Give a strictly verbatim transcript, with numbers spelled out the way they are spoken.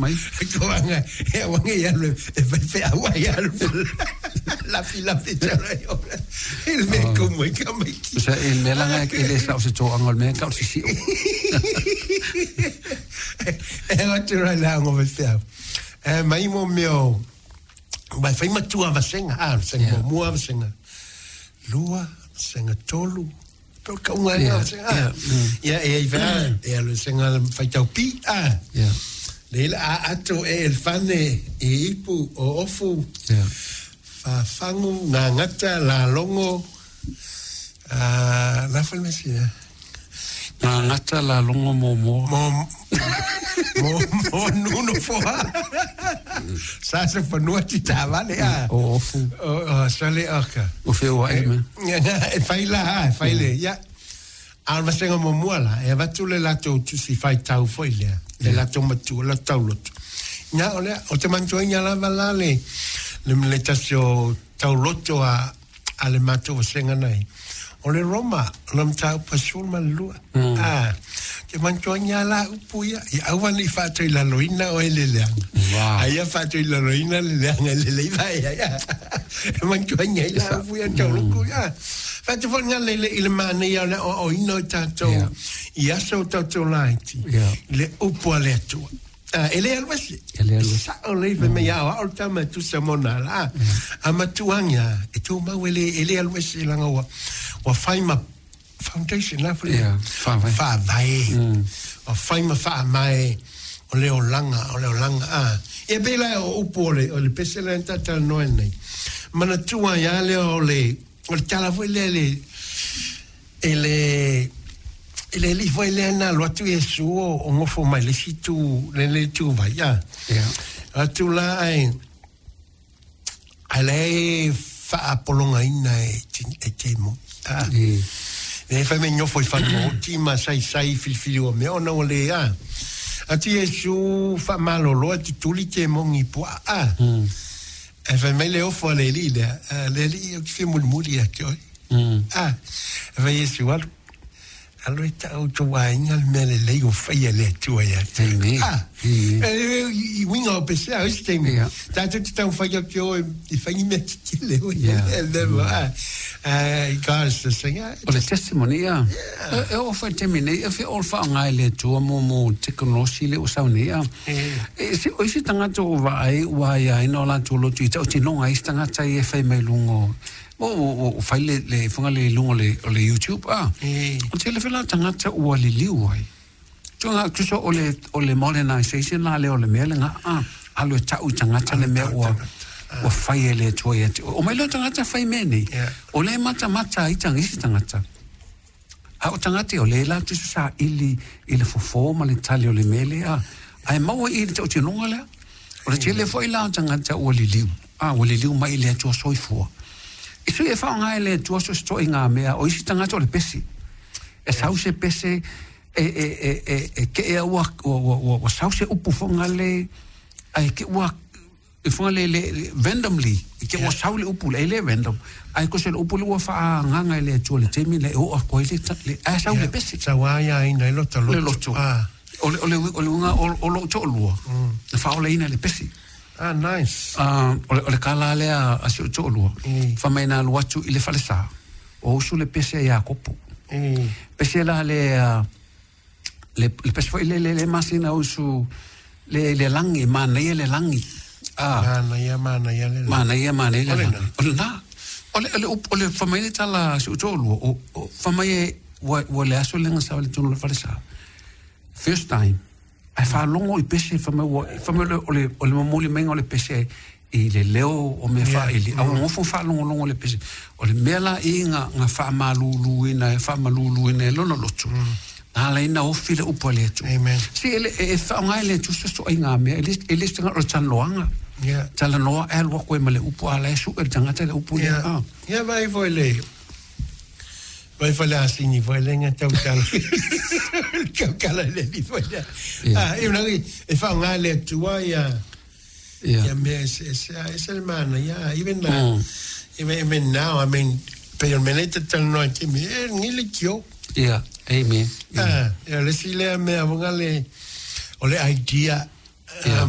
Mai. Koanga e wanga ia le e fai fe aua ia le lafi lafi tala yo. Il me ko mo ka mai ki. Sa e mea langa e le sa o se toanga o le mea ka o se sio. E wa te ra la ngo fe au. E mai mo meo mai fai matua vasenga ah senga Yeah. mo mua vasenga. Lua senga tolu. Pe ka unga Yeah, yeah, senga. yeah, mm. Ya e i va e le senga fai tau pi ah. Yeah. Le a ato e el fane e ipu o ofu Yeah. fafangu ngangata la longo a la farmacia Ngā ngata la longo mō mō. mo mo mo nuno foa sa se fanua ti tavale a O ofu. o o sale oka O whio ai me. e fai la e fai le ya a va senga mo mua la e va tu le lato tu si fai tau foi le le lato matu la tau loto nya o le o te mantua nya la va la le le le tasio tau loto a a le mato senga nei o le Roma o le mtau pasul malua ah te mantua nya la upu ia ia awa ni fato i laloina o ele leanga Wow. ai ia fato i laloina le leanga le le iva ia ia e mantua nya i la upu ia tau loko ia fato fo nga le le i le mane ia le o o ino i tātou Yeah. i aso o tātou laiti Yeah. le upu a le atua. Ah, e le alu ese. E le alu ese. Sa o le fe me ia o o tama tu sa mona la. A matuanga e tō mau e le e le alu ese langa ua ua whai ma foundation la fo le. Yeah, whawai. Whawai. O whai ma wha mai o le olanga, o le olanga. Ah. Ia pela o upu o le, o le pese le tata noe nei. Mana tua ia le o le, o le tala foi le le, e le, e le li foi le na lo atu Iesu o o ngofo mai le situ le le tu vai ia. Yeah. Atu la ai ai le faapolongaina e ti- e temo. Ah. E. Le fai me ngofo i whanau o tima sai sai filifili o mea ona o le a. Atu Iesu wha malolo atu tuli te mongi pua a. Mm. E fai mai le ofo a le li lea. A Le li o ki whia mulimuli a te oi. Mm. Ah, e fai Iesu alu. Alu e tau tō wainga le mea le lei o whai a le atua ia te. Amen. Ah, Amen. e, e, i winga o pese a oisi teimi. Yeah. Tātou te tau whai o ki o i whangi mea te le o. Yeah. E lewa, ah. Ah, i kāra sa senga. O le testimony, ia. E, e o whai te mine, e whio o wha ngai le tua mō mō teknolosi le o sau nei, ia. E se o isi tangata o vaai ua ia ina o lātou lotu i tau tinonga isi tangata i e whai mai lungo. O, o, o, o whai le, le whanga le lungo le, o le YouTube, ah. E. O te le whila tangata ua liliu ai. Tuanga, tuso o le, o le modernization la le o le mea le ngā, ah, alu e tau i tangata le mea ua, ua whai e le tua ia te. O mai leo tangata whai mea nei. Yeah. O le mata mata i tanga isi tangata. A o tangata o le la tuso sa ili, i le fofo ma le tali o le mele a. Ai maua i le tau tinonga lea. O le tele foi la o tangata ua liliu. A, ua liliu mai i le atua soifua. I sui e whaonga e le atua so sto i ngā mea, o isi tangata o le pesi. E sau se pese, e, e, e, e, e ke ea ua, ua, ua, ua, ua sau se upu whanga le, ai ke ua, e whanga le, le, le randomly, i ke ua sau le upu, le, e le random, ai ko se le upu le ua wha nganga e le atua le temi, le o a koe le, ta- le, ai sau le pese. Sa wā ia ina i loto loto. Le loto. Ah, O le, o le, o le unga, o, o lo to'olua, mm. whaola ina le pese. ah nice. Ah, o le, o le kala lea a si o to'olua, Mm. wha mai nā luatu i le whalesa, o usu le pese ia kopo. E. Pese la le, ah, le, le pese foi le, le, le masina usu, le, le langi, manaia le langi. Ah, Mana ia, mana ia le. manaia, manaia le O le langi. nā. O le nā. O le, o le, o le whamai le tala si o to'olua, o, o whamai e, ua, ua le aso lenga sa le tunu le whalesa. First time, ai whalongo i pese, whamai, ua, whamai o le, o le, o le mamuli mainga o le pese i le leo o mea Yeah. wha ili. Au ngofo whalongolongo le pese. O le mea la i ngā, ngā whaamalulu ina, e whaamalulu ina, e lono lotu. Nā la ina ofi le upu a le atu. Amen. Si ele, e, e whaongai le atu so ai ngā mea, e le, e le tanga o le tanloanga. Yeah. Tala noa e alua koe ma le upu a la e su e le tangata le upu le. Yeah. Ah. Ia vai foi le. Vai foi le asini foi le nga tau tala. Tau kala le li foi le. Yeah. Ah, e una e fa nga le atua ia. Yeah. Ia me se se se le mana ia even la. Mm. Even even now I mean pe me le te tala noa te me e ngi le kio. Yeah. Amen. Ah, ia le si le me avonga le o le idea Yeah.